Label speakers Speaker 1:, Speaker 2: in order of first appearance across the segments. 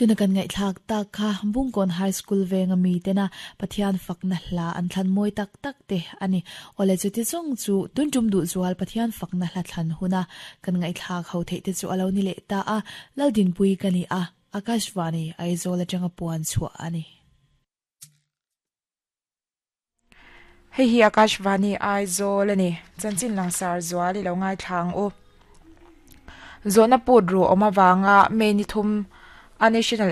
Speaker 1: Tuna kan ngaihthlak tak kha Bungkawn High School venga mitena Pathian fakna hla an thlan mawi tak tak te a ni. Awle chuti chung chu tun tum duh zual Pathian fakna hla thlan huna kan ngaihthlak ho theih te chu a lo ni leh ta a, Laldinpui ka ni a, Akashvani, Aizawl atanga puan chhuah a ni.
Speaker 2: Hei hi Akashvani Aizawl a ni. Chanchin langsar zual i lo ngaithla ang u. Zawhna put ruh awm avanga May ni thum a National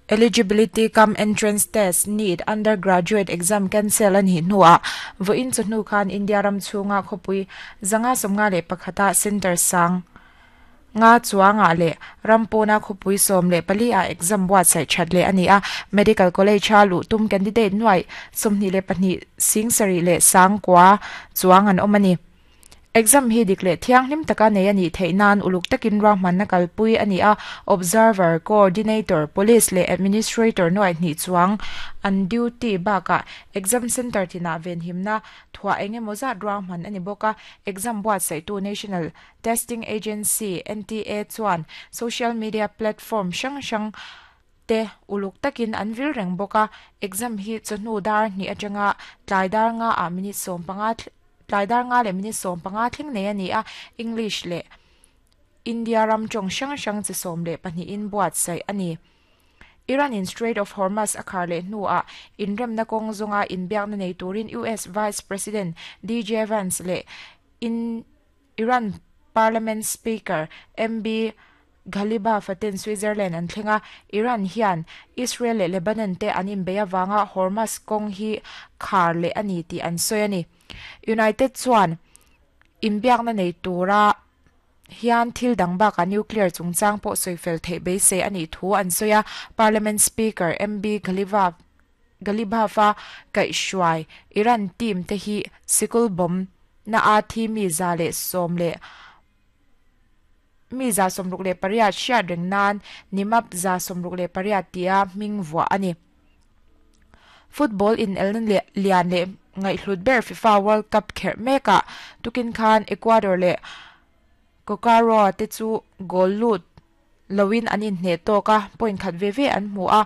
Speaker 2: Eligibility cum Entrance Test, NEET, Undergraduate Exam cancel a nih hnuah vawiin chawhnu khan India ram chhunga khawpui 551 ah centre sang Nga chuangah leh ram pawna khawpui 14 ah exam buatsaih that leh a ni a, Medical College a luh tum candidate nuaih 22 sing sarih leh sangkua chuang an awm a ni. Exam hi dik leh thianghlim taka nei a nih theih nan uluk takin ruahmanna kalpui a ni a, Observer, Coordinator, Police leh Administrator nuaih hnih chuang an duty bakah exam centre tinah venhimna thuah eng emaw zat ruahman a ni bawk a, exam buatsaihtu National Testing Agency, NTA, chuan social media platform hrang hrang te uluk takin an vil reng bawk a, exam hi chawhnu dar hnih atanga tlai dar nga ah minute 15 tlai dar nga leh minute 15 thleng nei a ni a, English leh India ram tawng hrang hrang chi 12 in buatsaih a ni. Iran in Strait of Hormuz a khar leh hnuah inremna kawng zawnga inbiakna nei turin US Vice President DJ Vance leh in Iran Parliament Speaker MB Ghalibaf ten Switzerland an thleng a, Iran hian Israel leh Lebanon te an inbeih avanga Hormuz kawng hi khar leh a ni tih an sawi a ni. United chuan inbiakna nei tura hian thil dang bakah nuclear chungchang pawh sawi fel theih beisei a nih thu an sawi a, Parliament Speaker MB Ghalibaf Ghalibaf-a kaihhruai Iran team te hi sikul bomb na a thi mi 110 leh mi 68 hriat reng nan Nimap 68 tia hming vuah a ni. Football inelna lian leh ngaihhlut ber FIFA World Cup kherh mekah tukin khan Ecuador leh Cocaroa te chu goal lut loin an inhneh tawk a, point khat ve ve an hmu a.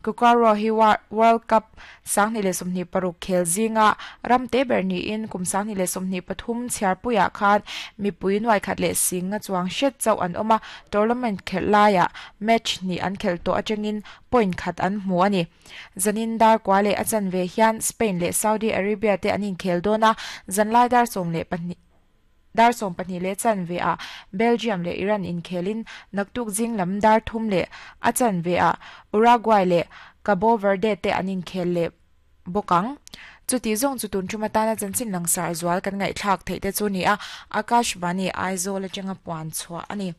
Speaker 2: Cucurro hi World Cup 2026 khel zinga ram te ber niin kum 2023 chhiarpuiah khan mipui nuai khat leh singa chuang hret chauh an awm a, tournament khelh laiah match hnih an khelh tawh atangin point khat an hmu a ni. Zanin dar kua leh a chanve hian Spain leh Saudi Arabia te an inkhel dawn a, zanlai dar 12 Dar 12 leh chanve ah Belgium leh Iran inkhelin naktuk zing lam dar 3 leh a chanve ah Uruguay leh Cabo Verde te an inkhel leh bawk ang. Chuti zawng chu tun tum atana chanchin langsar zual kan ngaihthlak theih te chu ni a, Akashvani Aizawl atanga puan chhuah a ni.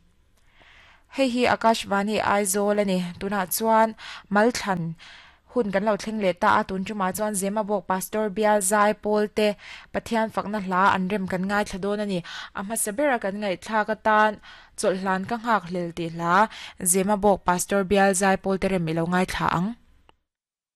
Speaker 2: Hei hi Akashvani Aizawl a ni. Tunah chuan Malthlan hun kan lo thleng leh ta a, tun tumah chuan Zemabawk Pastor Bial Zai Pawl te Pathian fakna hla an rem kan ngaithla dawn a ni. A hmasa bera kan ngaihthlak atan chawlhhlan ka nghak hlel tih hla Zemabawk Pastor Bial Zai Pawl te rem i lo ngaithla ang.